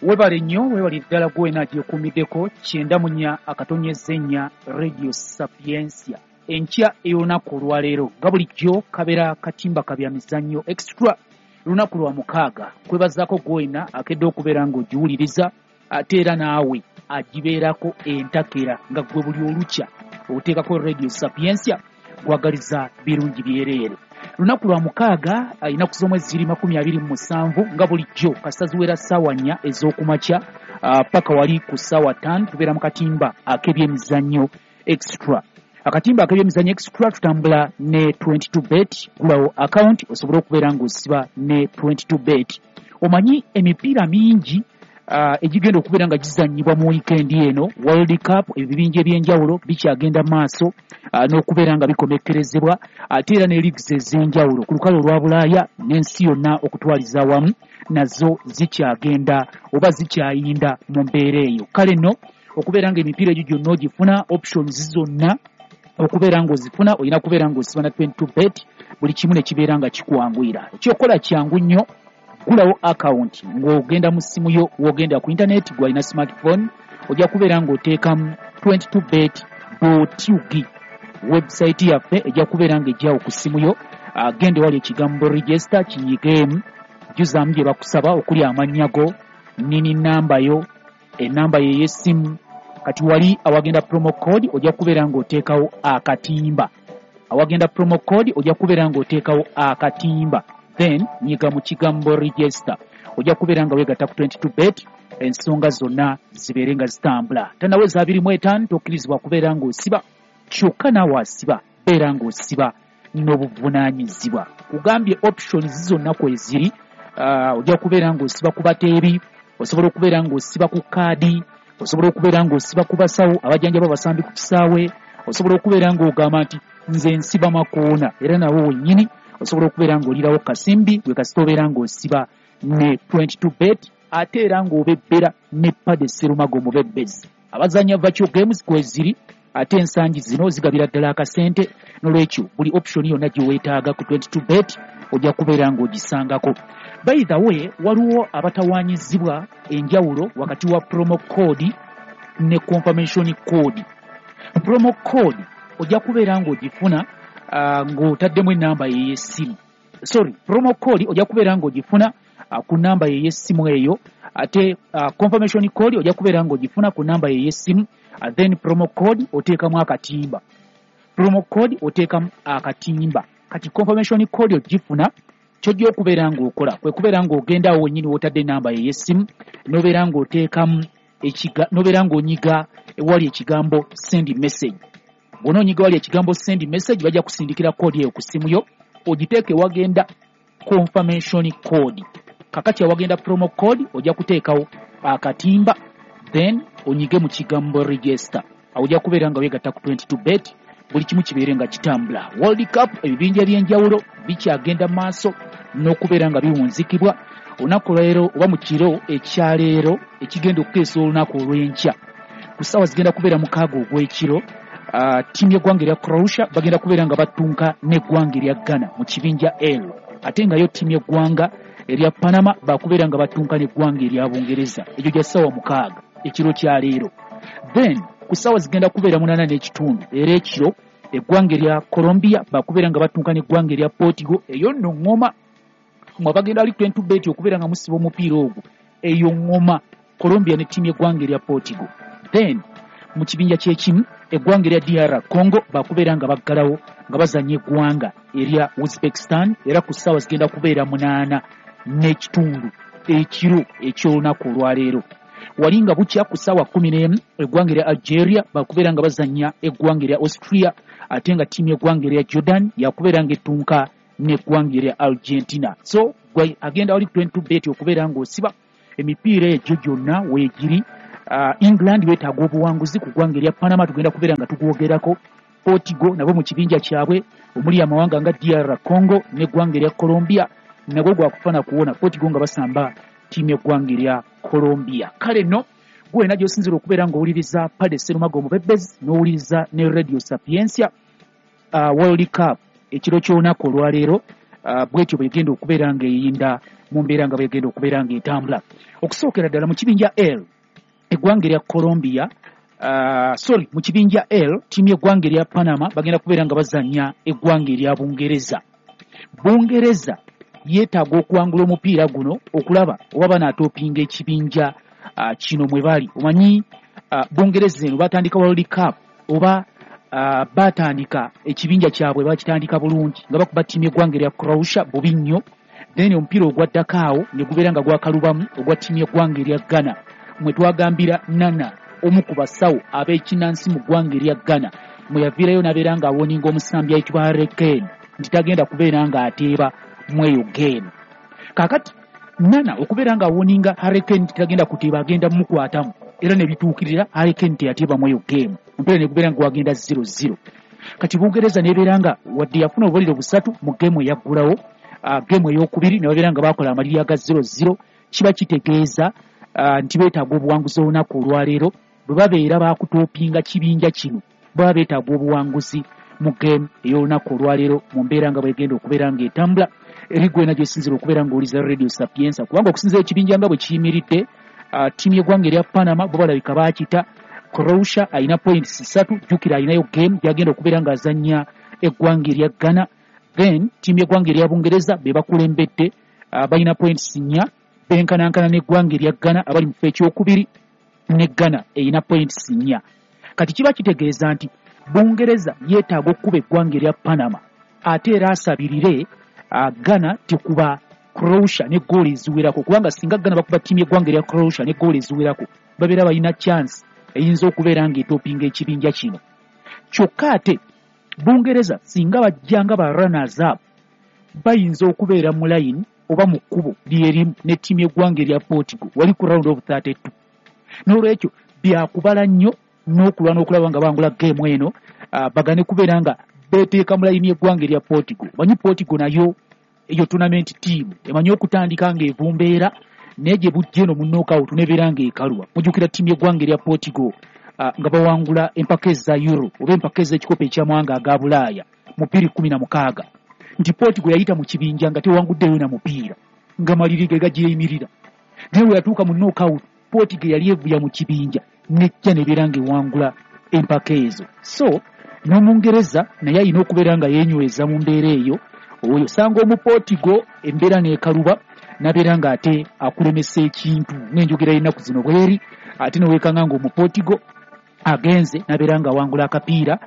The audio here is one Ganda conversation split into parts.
Webale nnyo, webale ddala gwena agyekuumiddeko 94.4 Radio Sapientia. Enkya ey'olunaku olwaleero nga bulijjo kabeera katimba ka byamizannyo extra, lunaku lwa mukaaga. Kwebazaako gwena akedde okubeera ng'ogiwuliriza, ate era naawe agibeerako entakera nga gwe buli olukya oteekako Radio Sapientia, kwagaliza birungi byereere. Lunaku lwa mukaaga, ennaku z'omwezi ziri 27, nga bulijjo kasaziwera ssaawa 4 ez'okumakya paka wali ku ssaawa 5 tubeera mu katimba ak'ebyemizannyo extra. Akatimba ak'ebyemizannyo extra tutambula ne 22 bet. Gulawo account osobole okubeera ng'osiba ne 22 bet. Omanyi emipiira mingi egigenda okubeera nga gizannyibwa mu wiikendi eno. World Cup, ebibinja ebyenjawulo bikyagenda maaso n'okubeera nga bikomekkerezebwa, ate era ne leagues ez'enjawulo ku lukalu olwa Bulaaya n'ensi yonna okutwaliza awamu nazo zikyagenda oba zikyayinda mu mbeera eyo. Kale nno okubeera nga emipiira egyo gyonna ogifuna, options zonna okubeera ng'ozifuna, olina kubeera ng'osiba na 22 bet, buli kimu ne kibeera nga kikwanguyira. Ekyokukola kyangu nnyo, gulawo account ng'ogenda mu ssimu yo, w'ogenda ku internet, gw'alina smartphone ojja kubeera ng'oteekamu 22 bet ug. Website yaffe ejja kubeera ng'ejjawo ku ssimu yo. Genda ewali ekigambo register, kinyigeemu, jjuzaamu gye bakusaba okuli amannya go, nini, namba yo, enamba yo ey'essimu. Kati wali awagenda promo code ojja kubeera ng'oteekawo akatimba. Awagenda promo code ojja kubeera ng'oteekawo akatimba, then nyiga mu kigambo register, ojja kubeera nga weegatta ku 22 bet, ensonga zonna zibeere nga zitambula. Tanaweza 25 tokkirizibwa kubeera ng'osiba, kyokka naawe asiba beera ng'osiba n'obuvunaanyizibwa. Kugambye options zonna kweziri. Ojja kubeera ng'osiba ku bateebi, osobola okubeera ng'osiba ku kaadi, osobola okubeera ng'osiba ku basawo abajjanjaba abasambi ku kisaawe, osobola okubeera ng'ogamba nti nze nsiba makoona, era nawe wennyini osobola okubeera ng'olirawo kasimbi gwe kasita obeera ng'osiba ne 22 bet, ate era ng'obebbera ne Pade Serumago omubebbezi. Abazanya virtual games kweziri, ate ensangi zino zigabira ddala akasente. Nolwekyo buli option yonna gye weetaaga ku 22 bet ojja kubeera ng'ogisangako. By the way, waliwo abatawaanyizibwa enjawulo wakati wa promo code ne confirmation code. Promo code ojja kubeera ng'ogifuna ng'otaddemu enamba ey'essimu. Sorry, promo code ojja kubeera ng'ogifuna ku namba ey'essimu eyo, ate confirmation code ojja kubeera ng'ogifuna ku namba ey'essimu. Then promo code oteekamu akatimba, promo code oteekamu akatimba. Kati confirmation code ogifuna, kyojja okubeera ng'okola kwe kubeera ng'ogenda awo wennyini w'otadde enamba ey'essimu, n'obeera ng'oteekamu, n'obeera ng'onyiga ewali ekigambo send message. Bw'onoonyiga wali ekigambo send message, bajja kusindikira code eyo ku ssimu yo, ogiteeke wagenda confirmation code. Kakati awagenda promo code ojja kuteekawo akatimba, then onyige mu kigambo register. Awo ojja kubeera nga weegatta ku 22 bet, buli kimu kibeere nga kitambula. World Cup, ebibinja ebyenjawulo bikyagenda maaso n'okubeera nga biwunzikibwa. Olunaku lwaleero oba mu kiro ekyaleero ekigenda okukeesa olunaku olw'enkya, ku ssaawa zigenda kubeera 6 ogw'ekiro, ttiimu y'eggwanga erya Croatia bagenda kubeera nga battunka n'eggwanga erya Ghana mu kibinja L, ate nga yo ttiimu y'eggwanga erya Panama bakubeera nga battunka n'eggwanga erya Bungereza. Egyo gya ssaawa 6 ekiro kya leero. Then ku ssaawa zigenda kubeera 8:30 era ekiro, eggwanga erya Colombia bakubeera nga battunka n'eggwanga erya Portugal. Eyo nno ŋŋoma mwe bagenda ali 22 bet okubeera nga musiba omupiira ogwo. Eyo ŋŋoma, Colombia ne ttiimu y'eggwanga erya Portugal. Then mu kibinja kyekimu, eggwanga erya DR Congo bakubeera nga baggalawo nga bazanya eggwanga erya Uzbekistan, era ku ssaawa zigenda kubeera 8:30 ekiro eky'olunaku olwaleero. Wali nga bukya ku ssaawa 11, eggwanga erya Algeria bakubeera nga bazanya eggwanga erya Austria, ate nga ttiimu y'eggwanga erya Jordan yakubeera nga ettunka n'eggwanga erya Argentina. So gwe agenda wali 22 bet okubeera ng'osiba emipiira egyo gyonna weegiri. England beetaaga obuwanguzi ku ggwanga erya Panama, tugenda kubeera nga tugwogerako. Portugal nabo mu kibinja kyabwe omuli amawanga nga DR Congo n'eggwanga erya Colombia, nagwo gwakufa kuwona, Portugal nga basamba ttiimu y'eggwanga erya Colombia. Kale nno gwena gy'osinzira okubeera ng'owuliriza Pade Serumago omubebezi n'owuliriza ne Radio Sapientia, World Cup ekiro ky'olunaku olwaleero. Bwetyo bwegenda okubeera ng'eyinda mu mbeera nga bwegenda okubeera ng'etambula. Okusookera ddala mu kibinja L, eggwanga erya Colombia, sorry, mu kibinja L, ttiimu y'eggwanga erya Panama bagenda kubeera nga bazannya eggwanga erya Bungereza. Bungereza yeetaaga okuwangula omupiira guno okulaba oba banaatoopinga ekibinja kino mwe bali. Omanyi Bungereza eno batandika World Cup oba batandika ekibinja kyabwe bakitandika bulungi nga bakuba ttiimu y'eggwanga erya Croatia bubi nnyo, then omupiira ogwaddako awo ne gubeera nga gwakalubamu ogwa ttiimu y'eggwanga erya Ghana, mwe twagambira Nana, omu ku basawo ab'ekinnansi mu ggwanga erya Ghana, mwe yaviirayo n'abeera ng'awoninga omusambi ayitibwa Harry Kane nti tagenda kubeera ng'ateeba mu eyo game. Kaakati Nana okubeera ng'awoninga Harry Kane nti tagenda kuteeba, agenda mumukwatamu, era ne bituukirira, Harry Kane teyateeba mu eyo game, omupiira ne gubeera nga gwagenda 0-0. Kati Bungereza n'ebeera nga wadde yafuna obubonero busatu mu geemu eyaggulawo, geemu ey'okubiri ne babeera nga bakola amaliri aga 0-0. Kiba kitegeeza nti beetaaga obuwanguzi olunaku olwaleero bwe babeera bakutoopinga kibinja kino, baba beetaaga obuwanguzi mu geemu ey'olunaku olwaleero mu mbeera nga bwegenda okubeera ng'etambula. Eri gwena gyosinzira okubeera ng'oliza Radio Sapienza, kubanga okusinzira ekibinja nga bwe kiyimiridde, ttiimu y'eggwanga erya Panama bo balabika baakita. Croatia alina points 3, jjukira alinayo game gyagenda okubeera ng'azannya eggwanga erya Ghana. Then ttiimu y'eggwanga erya Bungereza be bakulembedde, balina points 4, benkanankana n'eggwanga erya Ghana abali mu kifo ekyokubiri, ne Ghana erina points 4. Kati kiba kitegeeza nti Bungereza yeetaaga okukuba eggwanga erya Panama, ate era asabirire Ghana tekuba Croatia ne ggoolo eziwerako, kubanga singa Ghana bakuba ttiimu y'eggwanga erya Croatia ne ggoolo eziwerako, babeera balina chance eyinza okubeera ng'etoopinga ekibinja kino. Kyokka ate Bungereza singa bajja nga ba runners up, bayinza okubeera mu line oba mu kkubo lyerimu ne ttiimu y'eggwanga erya Portugal wali ku round of 32. N'olwekyo byakubala nnyo n'okulwana okulaba nga bangula geemu eno, bagane kubeera nga beeteeka mu layini y'eggwanga erya Portugal. Manyi Portugal nayo eyo tournament team emanyi okutandika ng'evumbeera, naye gye bujja eno mu knockout nebeera ng'ekalwa. Mujjukira ttiimu y'eggwanga erya Portugal nga bawangula empaka eza Euro oba empaka ez'ekikopo eky'amawanga aga Bulaaya mu 2016, nti Portugal yayita mu kibinja nga tewanguddeyo na mupiira, nga maliri ge gagyeyimirira, naye we yatuuka mu knockout Portugal yali evuya mu kibinja nejja nebeera ng'ewangula empaka ezo. So n'Omungereza naye alina okubeera nga yeenyweza mu mbeera eyo, oyo osanga Omuportugal embeera n'ekaluba n'abeera ng'ate akulemesa ekintu ng'enjogera y'ennaku zino bweri, ate neweekanga ng'Omuportugal agenze n'abeera ng'awangula akapiira,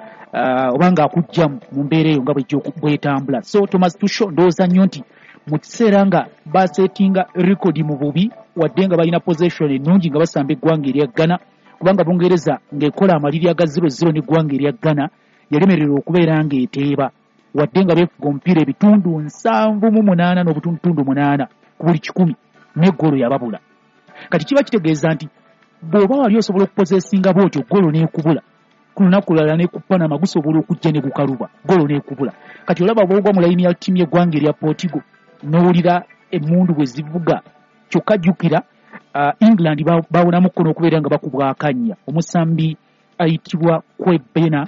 oba ng'akugjamu mu mbeera eyo nga bwejja bwetambula. So Thomas Tuchel ndowooza nnyo nti mu kiseera nga basetinga rekodi mu bubi, wadde nga balina possession ennungi nga basamba eggwanga erya Ghana, kubanga Bungereza ng'ekola amaliri aga 0-0 n'eggwanga erya Ghana yalemererwa okubeera ng'eteeba, wadde nga beefuga omupiira ebitundu 78 n'obutundutundu 8 ku buli 100, n'eggoolo yababula. Kati kiba kitegeeza nti bw'oba wali osobola okupozesinga bw'otyo ggoolo n'ekubula, ku lunaku lulala ne ku Panama gusobola okujja ne gukaluba, ggoolo n'ekubula. Kati olaba bw'ogwa mu layini ya ttiimu y'eggwanga erya Portugal n'owulira emmundu bwe zivuga. Kyokka jjukira England bawonamuko n'okubeera nga bakubwa akannya. Omusambi ayitibwa Kwebena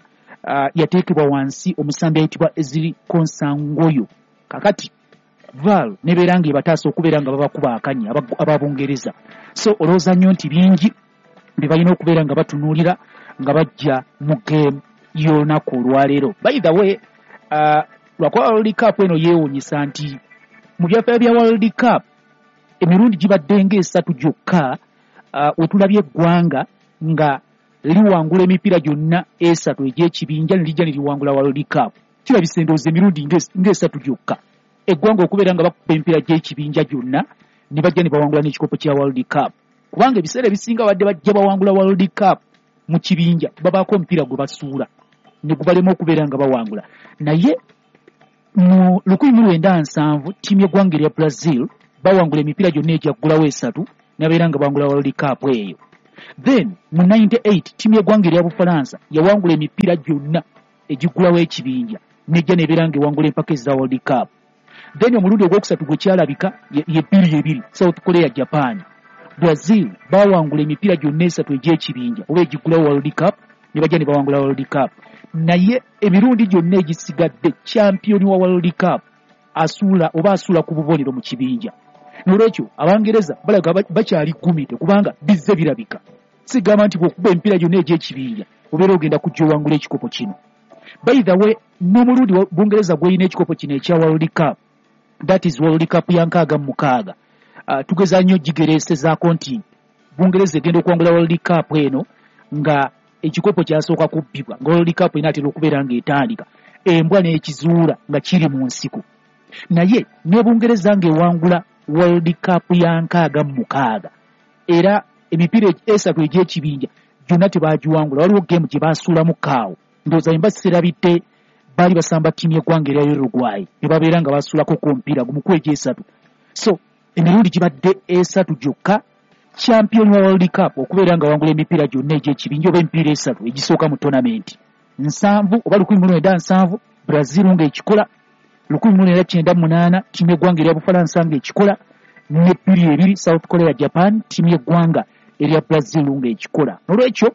yateekebwa wansi omusambi ayitibwa Ezri Konsangoyo. Kakati VAR nebeera ng'ebataasa okubeera nga babakuba akannya aba Bungereza. So olowooza nnyo nti bingi bye balina okubeera nga batunuulira nga bajja mu game y'olunaku olwaleero. By the way, lwakuba World Cup eno yeewuunyisa nti mu byafaayo bya World Cup emirundi gibadde ng'esatu gyokka wetulabye eggwanga nga liwangula emipiira gyonna esatu egy'ekibinja ne lijja ne liwangula World Cup. Kirabisa endowooza emirundi ng'esatu gyokka eggwanga okubeera nga bakuba emipiira gy'ekibinja gyonna ne bajja ne bawangula n'ekikopo kya World Cup, kubanga ebiseera ebisinga badde bajja bawangula World Cup mu kibinja babaako omupiira gwe basuula ne gubalema okubeera nga bawangula. Naye mu 1970 ttiimu y'eggwanga erya Brazil bawangula emipiira gyonna egyaggulawo esatu nabeera nga bawangula World Cup eyo. Then mu 98 ttiimu y'eggwanga erya Bufalansa yawangula emipiira gyonna egiggulawo ekibinja nejja nebeera nga ewangula empaka eza World Cup. Then omulundi ogwokusatu gwe kyalabika ye 2002 South Korea Japan. Brazil bawangula emipiira gyonna esatu egy'ekibinja oba egiggulawo World Cup ne bajja ne bawangula World Cup. Naye emirundi gyonna egisigadde champion wa World Cup asuula oba asuula ku bubonero mu kibinja. Nolwekyo Abangereza balaga bakyali gumite kubanga bizze birabika. Sigamba nti bw'okuba emipiira gyonna egy'ekibinja obeera ogenda kujja owangula ekikopo kino. By the way, n'omulundi Bungereza gw'erina ekikopo kino ekya World Cup, that is World Cup ya 66, tugeza nnyo gigereesezaako nti Bungereza egenda okuwangula World Cup eno nga ekikopo kyasooka kubbibwa, nga World Cup enaatera okubeera ng'etandika, embwa n'ekizuula nga kiri mu nsiko. Naye ne Bungereza ng'ewangula World Cup ya 66, era emipiira esatu egy'ekibinja gyonna tebaagiwangula. Waliwo geemu gye baasuulamu kaawo, ndowooza emba serabidde, baali basamba ttiimu y'eggwanga erya Uruguay ne babeera nga basuulako ku omupiira gumu ku egyesatu. So emirundi gibadde esatu gyokka champion wa World Cup okubeera nga wangula emipiira gyonna egy'ekibinja oba emipiira esatu egisooka mu tournament. 70 oba 1970 Brazil ng'ekikola, 1998 ttiimu y'eggwanga erya Bufalansa ng'ekikola, ne 2002 South Korea Japan ttiimu y'eggwanga erya Brazil ng'ekikola. Nolwekyo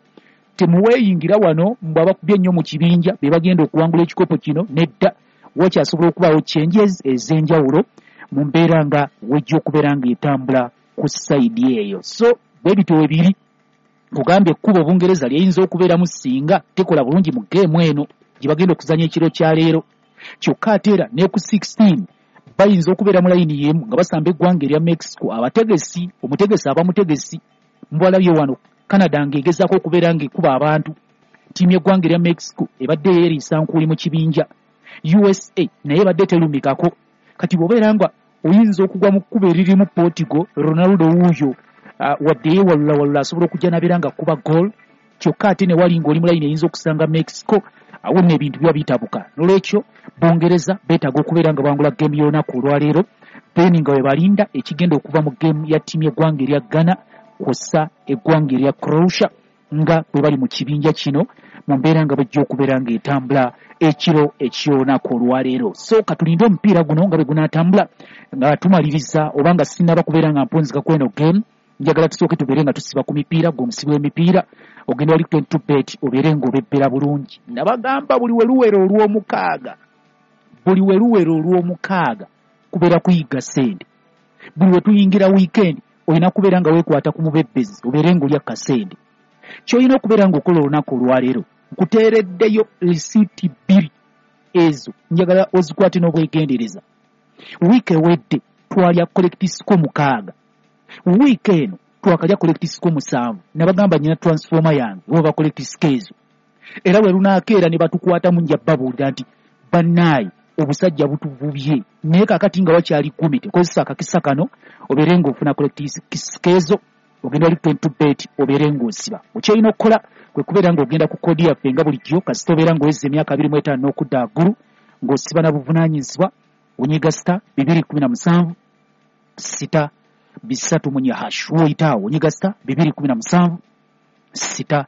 temuweeyingira wano mbu abakubye ennyo mu kibinja be bagenda okuwangula ekikopo kino, nedda. Wakyasobola okubaawo changes ez'enjawulo mu mbeera nga wejja okubeera ng'etambula ku sayidi eyo. So bwe bityo we biri. Kugambye ekkubo Bungereza lyeyinza okubeeramu singa tekola bulungi mu geemu eno gye bagenda okuzannya ekiro kya leero. Kyokka ate era ne ku 16 bayinza okubeera mu layini y'emu nga basamba eggwanga erya Mexico. Abategesi, omutegesi aba mutegesi, mubalabye wano Canada ng'egezaako okubeera ng'ekuba abantu. Ttiimu y'eggwanga erya Mexico ebadde yeeriisa nkuuli mu kibinja. USA naye ebadde terumikako. Kati bw'obeera nga oyinza okugwa mu kkubo eririmu Portugal, Ronaldo wuuyo wadde yeewalulawalula asobola okujja n'abeera ng'akuba goal, kyokka ate ne wali ng'oli mu layini eyinza okusanga Mexico, awo nno ebintu biba bitabuka. Nolwekyo Bungereza beetaaga okubeera nga bangula geemu y'olunaku olwaleero, then nga we balinda ekigenda okuva mu geemu ya ttiimu y'eggwanga erya Ghana kw'ossa eggwanga erya Croatia nga bwe bali mu kibinja kino mu mbeera nga bwejja okubeera ng'etambula ekiro eky'olunaku olwaleero. So katulinde omupiira guno nga bwe gunaatambula nga tumaliriza, oba nga sinnaba kubeera nga mpunzika ku eno game, njagala tusooke tubeere nga tusiba ku mipiira. Gwe omusibi w'emipiira ogenda wali 22 bet obeere ng'obebbera bulungi. Nabagamba buli we luwera olw'omukaaga, buli we luwera olw'omukaaga kubeera kuyiga ssente. Buli we tuyingira weekend olina kubeera nga weekwata ku mubebbezi obeere ng'olya kasente. Ky'olina okubeera ng'okola olunaku olwaleero, nkuteereddeyo risiiti 2 ezo njagala ozikwate n'obwegendereza. Wiiki ewedde twalya collect score 6, wiiki eno twakalya collect score 7. Nabagamba nnyina transformer yange oba collect score ezo, era bwe lunaakeera ne batukwatamu nja babuulira nti bannaayi obusajja butuvubye. Naye kaakati nga wakyali 10, tekozesa akakisa kano obeere ng'ofuna collect score ezo, ogenda wali 22 bet obeere ng'osiba. Okyolina okukola kwe kubeera ng'ogenda ku koodi yaffe nga bulijjo, kasita obeera ng'owezza emyaka 25 n'okudda waggulu ng'osiba na buvunaanyizibwa, onyiga star 217 6 3 hash. Woyitaawo onyiga star 217 6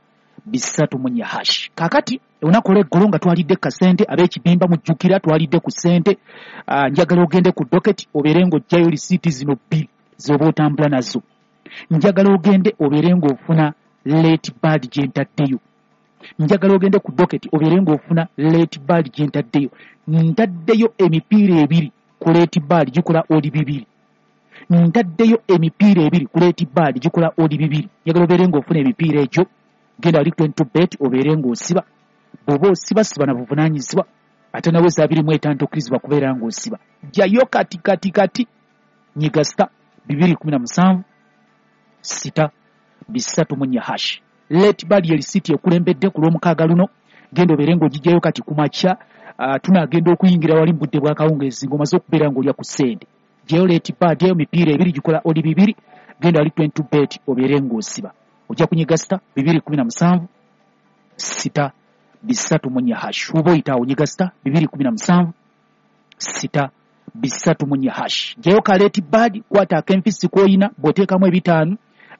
3 hash. Kaakati olunaku olw'eggulo nga twalidde kasente ab'ekibimba, mujjukira twalidde ku ssente. Njagala ogende ku docket obeere ng'oggyayo risiiti zino 2 z'oba otambula nazo. Njagala ogende obeere ng'ofuna late bird gye ntaddeyo. Njagala ogende ku docket obeere ng'ofuna late bird gye ntaddeyo. Ntaddeyo emipiira 2 ku late bird gikola odi 2. Ntaddeyo emipiira 2 ku late bird gikola odi 2. Njagala obeere ng'ofuna emipiira egyo, genda wali 22 bet obeere ng'osiba. Bw'oba osiba siba na buvunaanyizibwa, ate naweza 25 tokkirizibwa kubeera ng'osiba. Jjayo kati kati kati, nyiga star 217 6 3 hash. Late bird ye risiiti ekulembedde ku lw'omukaaga luno, genda obeere ng'ogijjayo kati ku makya. Tunaagenda okuyingira wali mu budde bw'akawungeezi ng'omaze okubeera ng'olya ku ssente. Jjayo late bird eyo, mipiira 2 gikola odi 2, genda wali 22 bet obeere ng'osiba. Ojja kunyiga star 217 6 3 hash. Oba oyitaawo onyiga star 217 6 3 hash. Jjayo ka late bird, kwata ak'enfisi k'oyina, bw'oteekamu 5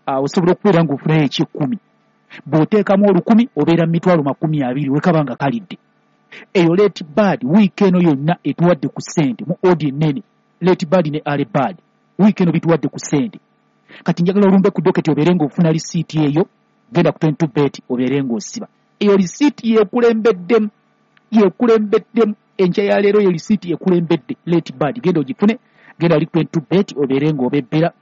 osobola okubeera ng'ofunayo eky'ekkumi. Bw'oteekamu 1000 obeera mu mitwalo 20 wekaba nga kalidde. Eyo late bird wiiki eno yonna etuwadde ku ssente mu odi ennene. Late bird ne early bird wiiki eno bituwadde ku ssente. Kati njagala olumbe ku docket obeere ng'ofuna risiiti eyo, genda ku 22 bet obeere ng'osiba. Eyo risiiti yekulembeddemu Yekulembeddemu enkya ya leero, ye lisiiti ekulembedde Late Bad. Genda ogifune, genda ali 22 bet obeere ng'obebbera.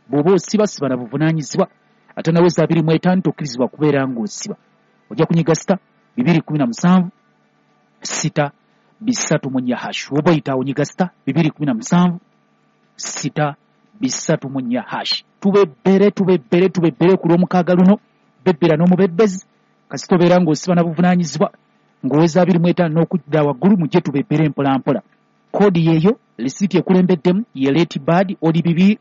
Bw'oba osiba, siba na buvunaanyizibwa. Ate naweza 25 tokkirizibwa kubeera ng'osiba. Ojja kunyiga star 217 6 3 4 hash. Oba oyitaawo nyiga star 217 6 3 4 hash. Tubebbere, tubebbere, tubebbere ku lw'omukaaga luno. Bebbera n'omubebbezi, kasita obeera ng'osiba na buvunaanyizibwa, ng'oweza 25 n'okudda waggulu. Mujje tubebbere mpolampola. Koodi yeeyo, lisiiti ekulembeddemu ye Late Bad, odd 2.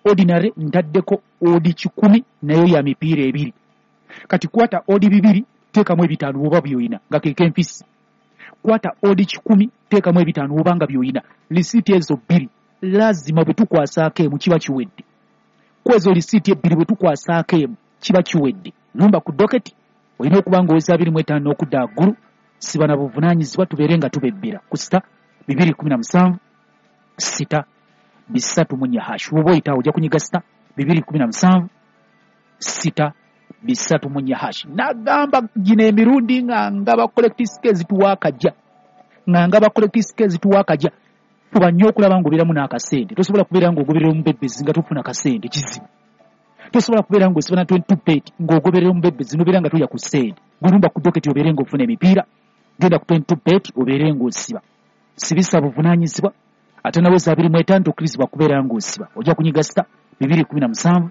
Ordinary ntaddeko odd 100, nayo ya mipiira ebiri. Kati kwata odd 2, teekamu 5 oba byoyina nga keke empisi. Kwata odd 100, teekamu 5 oba nga byoyina. Lisiiti ezo bbiri lazima bwe tukwasaako emu kiba kiwedde. Kwezo lisiiti ebbiri bwe tukwasaako emu kiba kiwedde. Lumba ku doketi, olina okuba ng'oweza 25 n'okudda waggulu. Siba na buvunaanyizibwa, tubeere nga tubebbera ku star 217 6 3 4 hash. Woba oyitaawo ojja kunyiga star 217 6 3 4 hash. Nagamba gino emirundi nga ngaba correct score zituwa akajja, nga ngaba correct score zituwa akajja. Fuba nnyo okulaba ng'obeeramu n'akasente. Tosobola kubeera ng'ogoberera omubebbezi nga tofuna kasente, kizibu. Tosobola kubeera ng'osiba na 22 bet ng'ogoberera omubebbezi n'obeera nga tolya ku ssente. Gulumba ku doketi obeere ng'ofuna emipiira. Genda ku 22 bet obeere ng'osiba. Sibisa buvunaanyizibwa. Ate naweza 25 tokkirizibwa kubeera ng'osiba. Ojja kunyiga star 217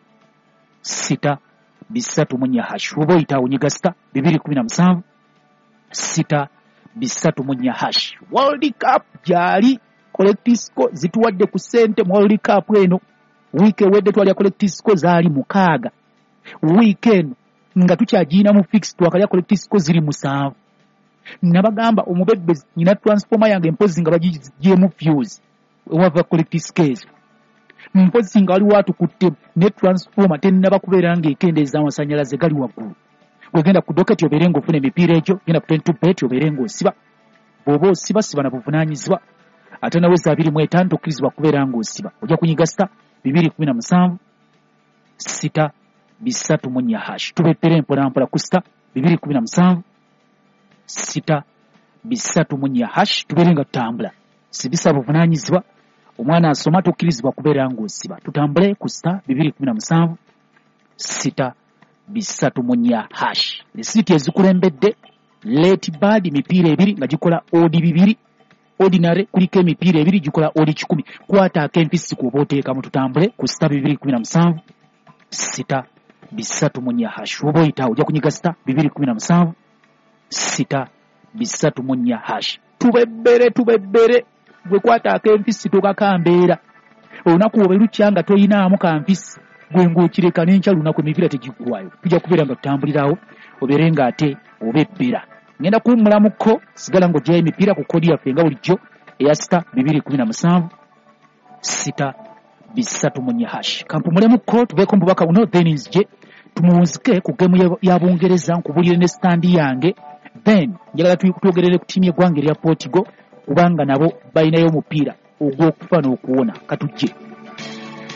6 3 4 hash. Oba oyitaawo onyiga star 217 6 3 4 hash. World Cup gyali, correct score zituwadde ku ssente mu World Cup eno. Wiiki ewedde twalya correct score zaali 6. Wiiki eno nga tukyagiyina mu fix, twakalya correct score ziri 7. Nabagamba omubebbezi nyina transformer yange, mpozi nga bagigyemu fuse ewava correct score ezo, mpozi nga waliwo atukutte ne transformer tennaba kubeera ng'ekendeeza amasanyalaze gali waggulu. Gwegenda ku doketi obeere ng'ofuna emipiira egyo. Genda ku 22 bet obeere ng'osiba. Bw'oba osiba, siba na buvunaanyizibwa. Ate naweza 25 tokkirizibwa kubeera ng'osiba. Ojja kunyiga star 217 6 3 4 hash. Tubeppere mpolampola ku star 217 6 3 4 hash, tubeere nga tutambula. Sibisa buvunaanyizibwa. Omwana asoma, tokkirizibwa kubeera ng'osiba. Tutambule ku star 217 6 3 4 hash. Risiiti ezikulembedde Late Bad, mipiira ebiri nga gikola odd 2. Ordinary kuliko emipiira ebiri gikola odd 100. Kwata ak'empisi kuoba oteekamu. Tutambule ku star 217 6 3 4 hash. Oba oyitaawo ojja kunyiga star 217 6 3 4 hash. Tubebbere, tubebbere. Gwe kwata ak'empisi, tokakambeera. Olunaku obe lukya nga toyinaamu kampisi, gwe ng'okireka n'enkya lunaku emipiira tegiggwayo. Tujja kubeera nga tutambulirawo, obeere ng'ate obebbera. Ngenda kuwummulamuko, sigala ng'oggyayo emipiira ku kodi yaffe nga bulijjo eya star 217 6 3 4 hash. Kampumulemukko, tubeeko mu bubaka buno, then nzije tumuwunzike ku game ya Bungereza, nkubulire ne stand yange. Then njagala twogerere ku ttiimu y'eggwanga erya Portugal, kubanga nabo balinayo omupiira ogw'okufa n'okuwona. Katujje.